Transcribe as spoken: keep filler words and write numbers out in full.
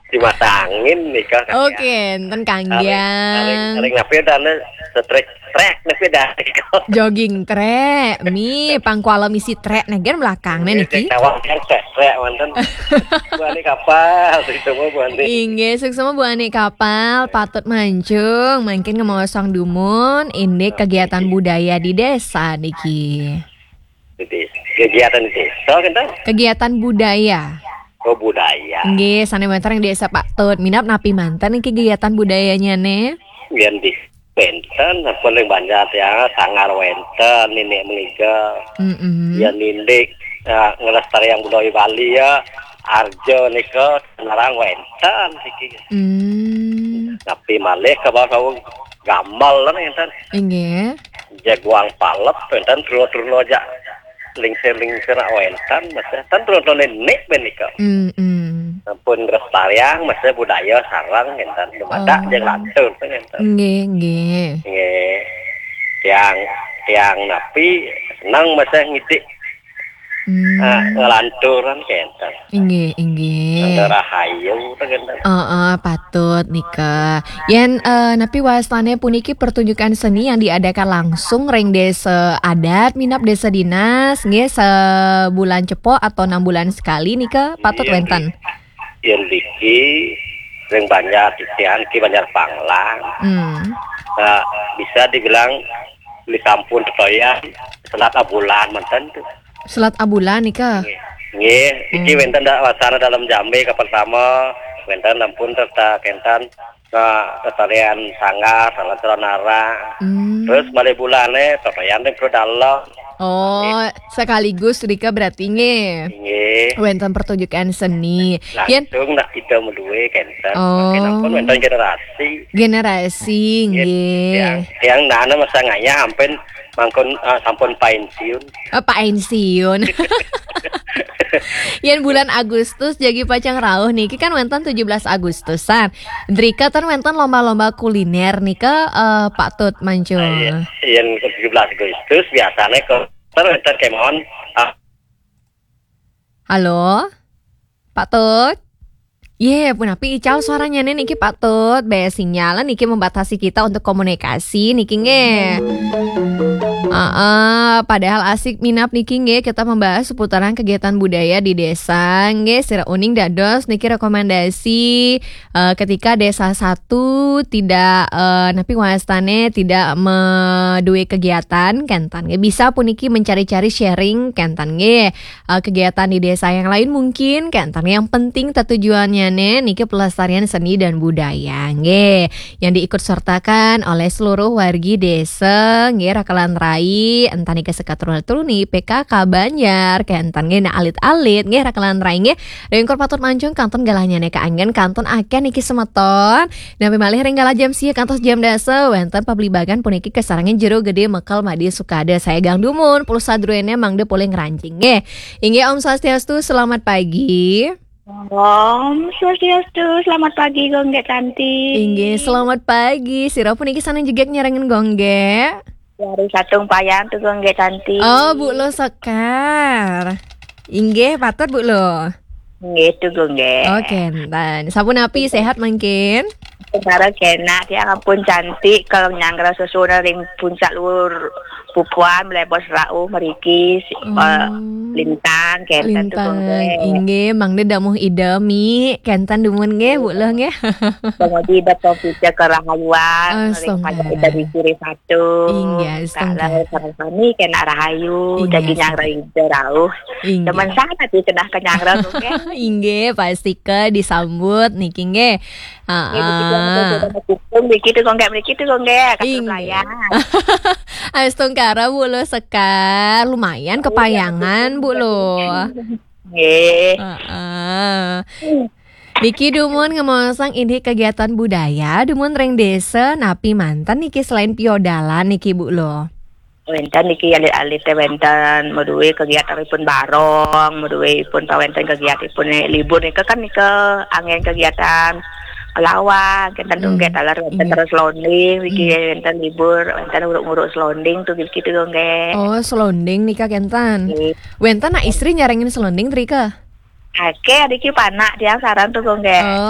Dimasangin nika. Oke, enten Aring, aring, kanggiang. Aring napi dana setrek trek napi dah. Jogging trek, mi pangkuala misi trek negen belakang nih niki. Tawang trek trek manten. Bu Ani kapal itu mah Bu Ani. Inggih, suksma Bu Ani kapal, patut mancung, mangkin ngemaosang dumun, indik kegiatan budaya di desa niki. Jadi kegiatan desa kan? Kegiatan budaya. Oh, budaya. Nggih, sané wénten ring Désa Patut. Minab napi manten niki kegiatan budayanya né? Yang di Wenten, paling banyak ya, sanggar wenten, nini mengiga, Mm-mm. ya nindik, ya, ngelestariang budaya Bali ya, arjo nika, ngarang wenten, siki. Hmm. Tapi malih ke bawah saung gamal lah, enten. Inggih. Jaguang palep, enten, terus-terus aja. Lingsir-lingsir nak wenten, mas ya. Tan terus nenek benika. Mm-mm. Ampun ngelestariang, mas ya, budaya sarang, enten. Dumadak Oh. Jeung lantur, enten. Nggih, nggih. Nggih. Tiang, tiang napi senang, mas ya, ngidik. Hmm. Ah, ngelanturan, enten. Inggih, inggih. Nang rahayu, enten. Heeh, patut nika. Yén eh, napi wastané puniki pertunjukan seni yang diadakan langsung ring désa adat, minab désa dinas, nggih, sebulan cepok atau enam bulan sekali nika patut Iya, wénten. Yang diki, ring Banjar titian, ki Banjar Panglang. Hmm. Nah, bisa dibilang di sampun tetoyan selat abulan manten tuh. Selat abulan nika. Nggih, iki Hmm. wénten da, wasana dalam jambe kapal pertama, wénten ampun serta kenten, nah, lestarian sanggar, salah nara. Hmm. Terus malih bulané, tetoyan ring Pro Dalem. Oh, sekaligus nika berarti nggih. Nggih. Wénten pertunjukan seni. Yén Langsung nak kita medue kenten. Oh. Makin ampun wénten generasi. Generasi Nggih, nggih. Yang, yang nana masa ngayah ampun mangkun, ah, sampun pensiun. Eh, pensiun. Yén bulan Agustus jagi pacang rauh niki kan wénten tujuh belas Agustusan. Drika ten wénten lomba-lomba kuliner nika eh, patut mancung. Iya, yang tujuh belas Agustus biasanya ke ter ter kemon, ah, Halo? Patut? Yé, punapi ical suaranya nih niki patut. Bé sinyal niki membatasi kita untuk komunikasi niki nggih. Heeh, padahal asik minab niki nggih kita membahas seputaran kegiatan budaya di desa nggih. Sira uning dados niki rekomendasi eh, ketika desa satu tidak eh, napi wastané tidak meduwe kegiatan kenten nggih. Bisa puniki mencari-cari sharing kenten nggih. Eh, kegiatan di desa yang lain mungkin kenten yang penting tetujuannyané niki pelestarian seni dan budaya nggih. Yang diikut sertakan oleh seluruh wargi desa nggih rakelan rai entah niki sekat truna truni P K K Banjar kenten nggih nah alit-alit nggih rakelan rai nggih. Ringkur patut mancung kantun galahnyané kaanggén kantun akéh niki semeton. Napi malih ring galah jam sia kantos jam dasa wénten pablibagan puniki kasarengin Jero Gedé Mekel Madé Sukada. Saya Gang Dumun, pulsa druéné mangda polih ngranjing nggih. Inggih Om Swastiastu, selamat pagi. Om Swastiastu, selamat pagi Gung Gék Tanti. Inggih, selamat pagi. Sira puniki sané jegég nyarengin Gung Gék. Dari Satung Payang tuh Gung Gék Tanti. Oh, Bu Lo Sekar. Inggih, patut Bu Lo. Nggih tuh Gung Gék. Oke, enten. Sapunapi, sehat mangkin? Sekarang kena dia ampun cantik kalau nyanggra sesudah ring puncak luhur pupuan melebos rauh meriki si- Oh. eh, lintang kenten tuh Gung Lintang, Gék. Inggih, mangda damuh Ida Mi, kenten dumun nggih, Bu Lo nggih. Kemudian datang kita kerahayuan, Ah, ring payah astungkara. kita di kiri satu. Inggih, Tak astungkara. lalu sama kami kena rahayu, Inggih, jadi astungkara. nyanggra ida rauh. Inggih. Teman sana tuh kena kenyanggra tuh kan. Inggih, pasti ke disambut niki nggih. Ibu kita Heeh. sudah mendukung begitu Gung Gék, begitu Gung Gék, kasih Inggih. pelayan. Astungkara Bu Lo Sekar, lumayan kepayangan Bu Lo. Nggih. Heeh. Niki dumun ngemaosang indik kegiatan budaya dumun ring desa napi manten niki selain piodalan niki Bu Lo. Wénten niki alit-alit téh wénten meduwe kegiatan ipun barong, meduwe ipun pawénten kegiatan ipun libur nika kan nika anggén kegiatan lawak, kenten Hmm. nggih taler wénten Inggih. terus londing niki Hmm. wénten libur, wénten uruk-uruk selonding tuh gitu nggih. Oh, selonding nika kenten. Nggih. Wénten nak istri nyarengin selonding drika? Oke, adiki panak dia sarang tuh nggih. Oh,